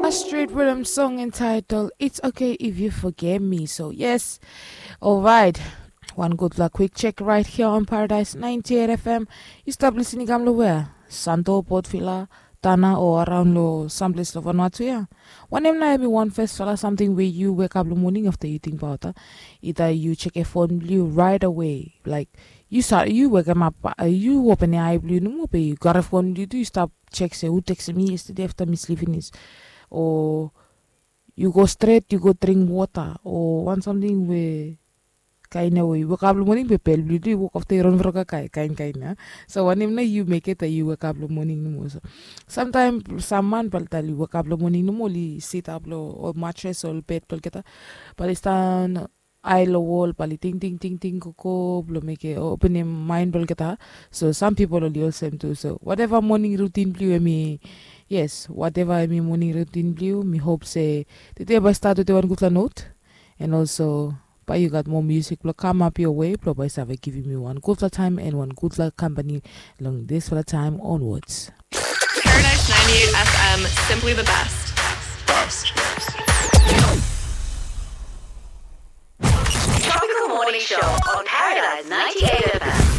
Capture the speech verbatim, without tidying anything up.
A street rhythm song entitled It's Okay If You Forget Me. So, yes, all right. One good luck quick check right here on Paradise ninety-eight F M. You stop listening, kam lo where? Santo, Port Vila, Tana, or around lo someplace lo Vanuatu, yeah. Wanem nao hemi wan first fala samting we yu wekap lo moning afta yu tingbaot, ah? Ida yu chek e fon blo yu right away, like, yu sa yu wekemap, ah, yu open e ai blo yu nomo, be yu gat e fon blo yu tu, yu stap chek se hu tekstem mi yestede afta mi slip finis, o yu go stret yu go dring wota o wan samting we kain ia we yu wekap lo moning be bel blo yu tu i wok afta i ron vro kakae kain kain ia. So wanem nao yu mekem taem yu wekap lo moning nomo? So samtaem sam man bae oli tal yu wekap lo moning nomo oli sitap lo ol matres o ol bed blo olgeta, bae oli stan ai lo wol bae oli tingting tingting gogo blo mekem openem maen blo olgeta. So sam pipol oli olsem tu. So wateva moning rutin blo yu hemi, yes, wateva hemi moning rutin blo yu, mi hop se tede bae i stat wetem wan gudfala not. And also bae yu gat moa musik blo kamap yoa we blo bae i save givim yu wan gudfala taem and wan gudfala kampani long disfala taem onwards. Paradise ninety-eight F M, simply the best. Tropical Morning Show on Paradise ninety-eight F M.